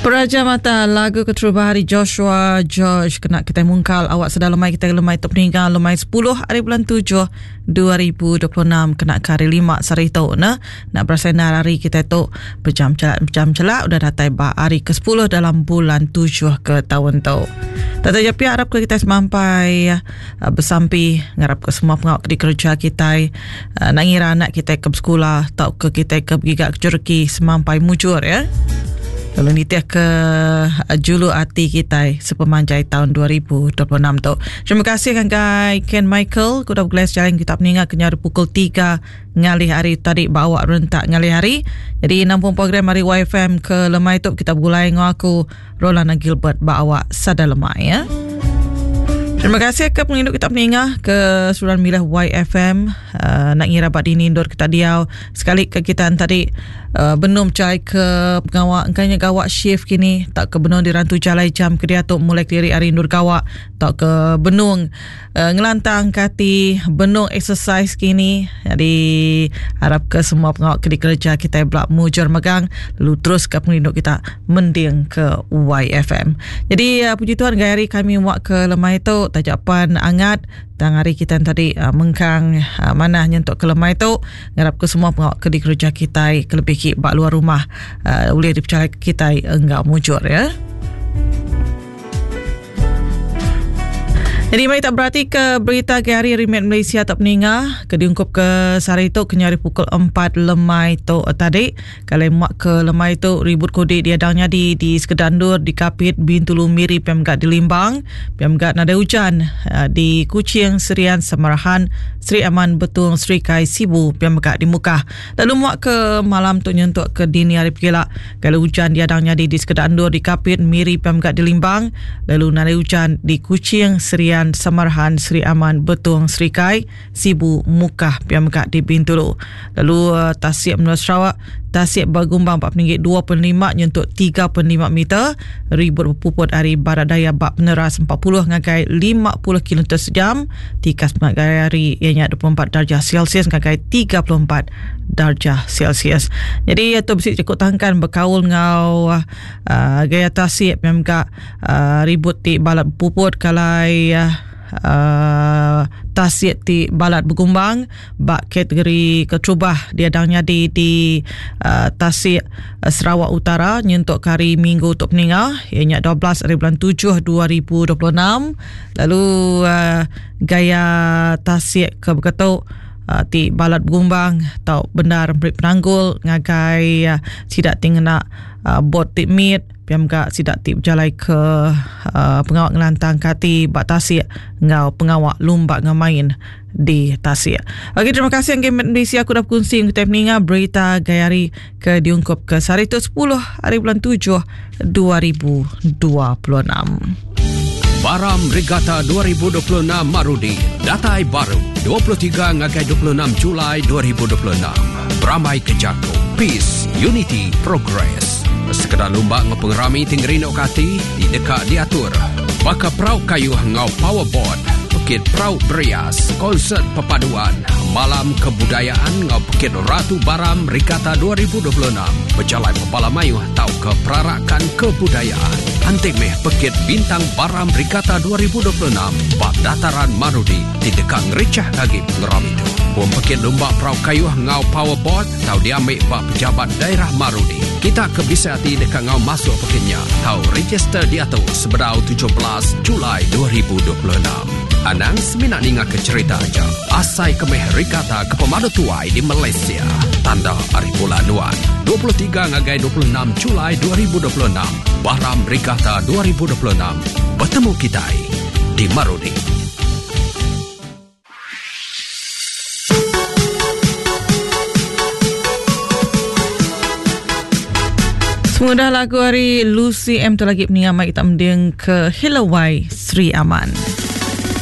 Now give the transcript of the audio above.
Peraja mata lagu keterubah hari Joshua George kena kita mungkal awak sedar lemai kita lemai tu peninggal lemai 10 hari bulan 7 2026 kena ke hari 5 sehari tu ne nak berasai nar hari kita tu bejam celak bejam celak udah datai ba hari ke-10 dalam bulan 7 ke tahun tu. Tata ja pia arap ke kita semampai uh, besampi ngarap ke semua pengawa ke dikereja kitai uh, nak ngira anak kitai ke besekula tauka kitai ke begiga ke jereki semampai mujur ya. Lalu nitih ke uh, julu ati kitai sepemanjai tahun 2026 tu. Terima kasih ngagai Ken Michael ke udah begulai sejalai kita peninga ke nyau pukul 3 ngalih hari tadi bawa rentak ngalih hari. Jadi nampung program hari YFM ke lemai tu kita begulai ngau aku Rolana Gilbert ba awak sada lemai ya. Terima kasih ke penginduk kita peningah ke suran milih YFM uh, nak ngira ba dini endur kita diau sekali ke kita tadi uh, benum cai ke pengawa engkanya gawak shift kini tak ke benung dirantu jalai jam ke diatu mulai kediri hari endur gawak tak ke benung uh, ngelantang ke ati benung exercise kini jadi harap ke semua pengawa ke dikereja kita belak mujur megang lalu terus ke pengerindu kita mending ke YFM. Jadi uh, puji Tuhan gaya hari kami muak ke lemai tu tajapan angat tang hari kita tadi uh, mengkang uh, manah nyentuk ke lemai tu ngarap ke semua pengawa ke dikereja kita ke lebih ki ba luar rumah uh, ulih dipercaya kita enggau mujur ya. Jadi mari tak berarti ke berita ke hari Remet Malaysia tak peninga ke diungkup ke sehari tu kena hari pukul 4 lemai tu tadi. Kalau muak ke lemai tu ribut kodi dia dang nyadi di sekedar endur di Kapit, Bintulu, Miri, PMGAT di Limbang, PMGAT nadai hujan eh, di Kuching, Serian, Samarahan, Sri Aman, Betung, Sri Kai, Sibu, PMGAT di Mukah. Lalu muak ke malam tu nyentuk ke dini hari pegila Kalau hujan diadang nyadi di sekeda endur di Kapit, Miri pia mega di Limbang, lalu nadai hujan di Kuching, Serian, Samarahan, Sri Aman, Betong, Serikai, Sibu, Mukah pia mega di Bintulu. Lalu eh, tasik menua Sarawak, tasik bergumbang ba peninggi 2.5 nyentuk 3.5 meter, ribut bepuput ari barat daya ba peneras 40 ngagai 50 kilometer sejam, tikas pengagai hari iya nya 24 darjah Celsius ngagai 34 darjah Celsius. Jadi tu bisi jaku tangkan bekaul enggau uh, gaya tasik pia mega uh, ribut ti balat bepuput kalai uh, tasik ti balat begumbang ba kategori keterubah diadang nyadi di uh, tasik Sarawak Utara nyentuk ke hari Minggu tu peninga iya nya 12 hari bulan 7 2026 lalu uh, gaya tasik ke beketu uh, ti balat begumbang tau bendar meri penanggul ngagai uh, sida ti ngena uh, bot ti mit pia mega sida ti bejalai ke uh, pengawa ngelantang ke ati ba tasik enggau pengawa lumba enggau main di tasik. Okey terima kasih ngagai Malaysia aku dah berkongsi dengan kita peninga berita gaya hari ke diungkup ke sehari tu 10 hari bulan 7 2026. Baram Regatta 2026 Marudi datai baru 23 ngagai 26 Julai 2026. Berambai ke jaku Peace, Unity, Progress. Sekeda lumba enggau pengerami ti ngerinduka ati ti deka diatur baka perau kayuh enggau powerboat, pekit perau berias, konsert perpaduan, malam kebudayaan enggau pekit Ratu Baram Regatta 2026 bejalai bebala mayuh tauka perarakan kebudayaan. Anti meh pekit Bintang Baram Regatta 2026 ba Dataran Marudi ti deka ngerichah agi pengerami tu. Pom pekit lumba perau kayuh enggau powerboat tau diambi ba Pejabat Daerah Marudi. Kita ke bisi ati deka enggau masuk pekit nya tau register diatu sebedau 17 Julai 2026. Anang semina ninga ke cherita aja. Asai ke meh regatta ke pemadu tuai di Malaysia. Tanda ari bulan nuan. 23 ngagai 26 Julai 2026. Baram Regatta 2026. Betemu kitai di Marudi. Semudah lagu hari Lucy M tu lagi peninga mai kita mending ke Hello Wai Sri Aman.